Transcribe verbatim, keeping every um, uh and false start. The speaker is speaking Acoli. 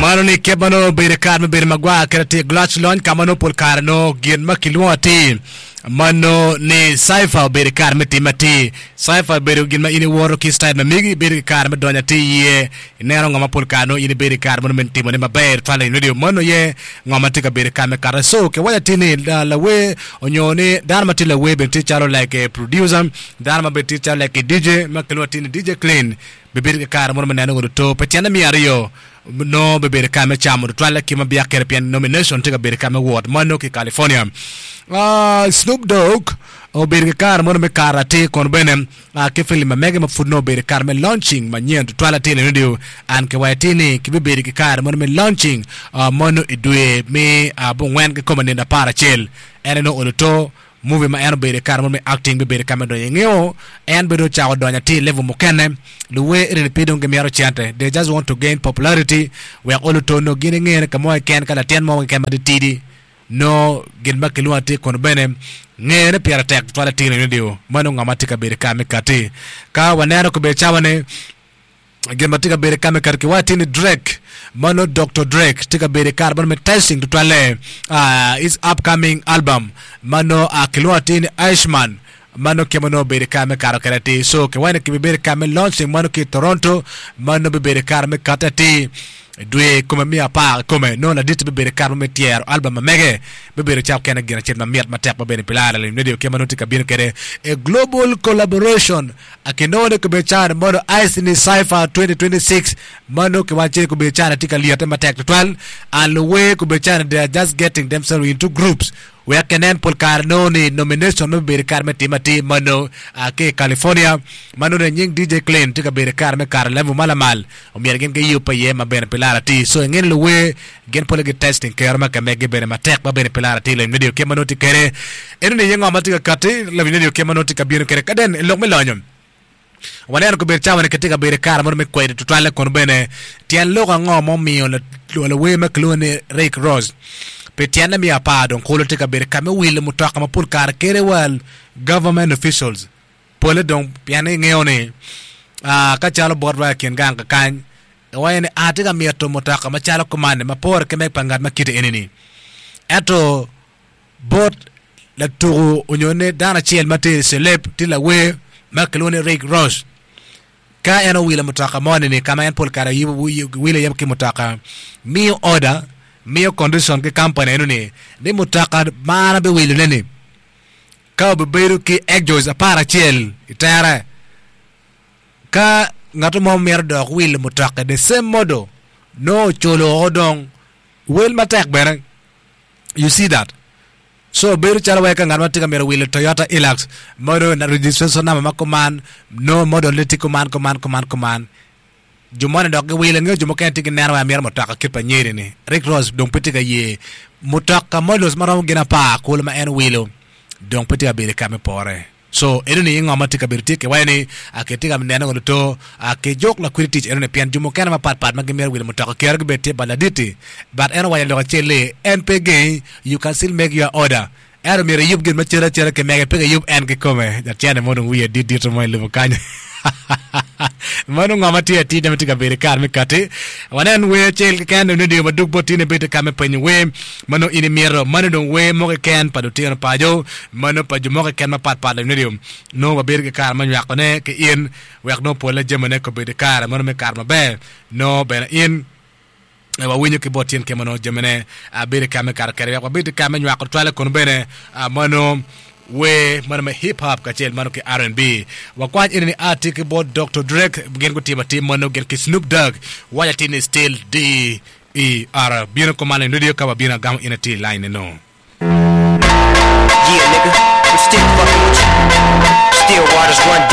Mano ni kit ma nongo obedo i kare me bedo magwar kede atir Glac lony ka ma nongo pol kare nongo gin ma kilwongo atir ma nongo ni cypher obedo i kare me tim atir. Cypher obedo gin ma in iwoto ki style ma megi ibedo ki kare me donyo atir iye ineno ngo ma pol kare nongo in ibedo i kare mono me timone maber tutwal i radio mano aye ngo ma tye ka bedo i kare me kate. So kiwaco atir ni lawer onyo ni dano ma tye lawer bene tye calo like a producer, dano ma bene tye calo like a D J ma kilwongo atir ni D J Clean bibedo ki kare mono me neno godo to pi tyene miya aryo nongo bibedo ka me camo tutwalle ki ma biak kede pien nomination tye ka bedo ka me wot mano ki California. Uh, Snoop Dogg obedo ki kare mono me kato atir kono bene uh, ki filim ma mege ma pud nongo obedo kare me launching manyen tutwal atir ni radio an ki waco atir ni kibibedo ki kare mono me launching uh, mono i dwe me uh, bungwen ki kome nino apar acel en nongo olo to movie ma en obedo i kare mono me acting bibedo ka me donyo ingeo en bedo ocako donyo atir level mukene luwer eni pe dong gimito cente, they just want to gain popularity wek olo to nongo gin ingene ka mo keken ka latin mo keken ma titidi no gin ma kilwongo atir kono bene ngene pire tek tutwal atir ni radio mano ngo ma tye ka bedo ka me kati ka waneno kobedo cawa ni gin ma tye ka bedo ka me kati kiwaco atir ni Drake mano Doctor Drake tye ka bedo i kare mano me testing tutwalle uh, his upcoming album mano uh, kilwongo atir ni Irishman mano kema nongo obedo i kare me kato kede atir. So kiwaco ni kibibedo i kare me launching mano ki i Toronto mano bibedo i kare me kate atir dwe kome miya apar kome nongo ladit bibedo i kare me tyero album ma mege bibedo cako kene gin acel mamit matek ma bene pilara lim radio kema nongo tye ka bino kede a global collaboration akinongo ni kobedo cani mono ice ni cypher twenty twenty-six mano kiwaco ni kobedo cani tye ka lyete matek tutwal and luwer kobedo cani they are just getting themselves into groups wek kinen pol kare nongo ni nomination me bedo kare me tim atir mano uh, ki i California mano ne nying D J Clean tye ka bedo kare me kare level ma lamal omyero gin giyub iye ma bene pi lara atir. So ingeni luwer gin pole gi testing kero ma kamegi bene matek ma bene pi lara atir lawiny radio kema nongo tye kede eno ni iye ngo ma tye ka kati lawiny radio kema nongo tye ka bino kede kaden i lok me lonyo waneno kobedo cawa ni kitye ka bedo i kare mono me kwedo tutwalle kono bene tyen lok ango ma omiyo lawer ma kilwongo ni Rick Ross pi tyene miya apar dong kulo tye ka bedo ka me wilo mutoka ma pol kare kede wa government officials pole dong pien ingeo ni uh, ka calo botwa i kin gang kakany iwaco ni atye ka mito mutoka macalo kumanni ma pore ki meg pa ngat ma kite eni-ni ento bot latuku onyo ni dano acel ma tye i celeb tye lawer ma kilwongo ni Rick Ross ka en owilo mutoka moni ni kama en pol kare wilo iye ki mutoka miyo order miyo condition ki company eno ni ni mutoka ma an abiwilone ni ka obibedo ki exhaust apar acel i tere ka ngat mo mito dok wilo mutoka the same model no oculo oko dong wel matek bene. You see that? So bedo calo wai ka ngat ma tye ka mito wilo Toyota Hilux mano registration number ma kuman no model ne tye kuman kuman kuman kuman jo moni dok giwilo ngeo jo mukene tye gineno wai amito mutoka kit pa nyeri ni Rick Ross dong pe tye ka ye mutoka models maromo gin apar kulu ma en owilo dong pe tye ka bedo ka me pore. So eno ni ngo ma tye ka bedo tye kiwaco ni kitye ka neno godo to kijuk lakwidi tic eno ni pien jo mukene mapatpat ma gimito wilo mutoka kero gibed tye ba laditi but en owaco lok acel ni en pe gengi, you can still make your order ento myero iyub gin macalo acala ki mege pe kiyub en kikome jacene mo dong wiye dit dito mo i lobo kany mano ngo ma tye atir ma tye ka bedo i kare me kati wanen wer acel keken radio madug bot tine bedo ka me penyo wer mano in imito mano dong wer mo keken pa lutino paco mano pa jo mo keken mapatpat radio nongo wabedo ki kare me nywakone ki in wek nongo pole jamine kobedo i kare mano me kare maber nongo bene in wawinyo ki bot tyen kema nongo jamine bedo ka me kato kede wek wabed ka me nywako twale kono bene mano wer mano me hip hop kacel mano ki R and B wakwany eni ni ati ki bot Doctor Drake gin gutimo atim mano gin ki Snoop Dogg waco atir ni still D E R bino kumalo i radio ka wabino agamo in atir line no. Yeah, nigga, I'm still fucking with you. Still waters run deep.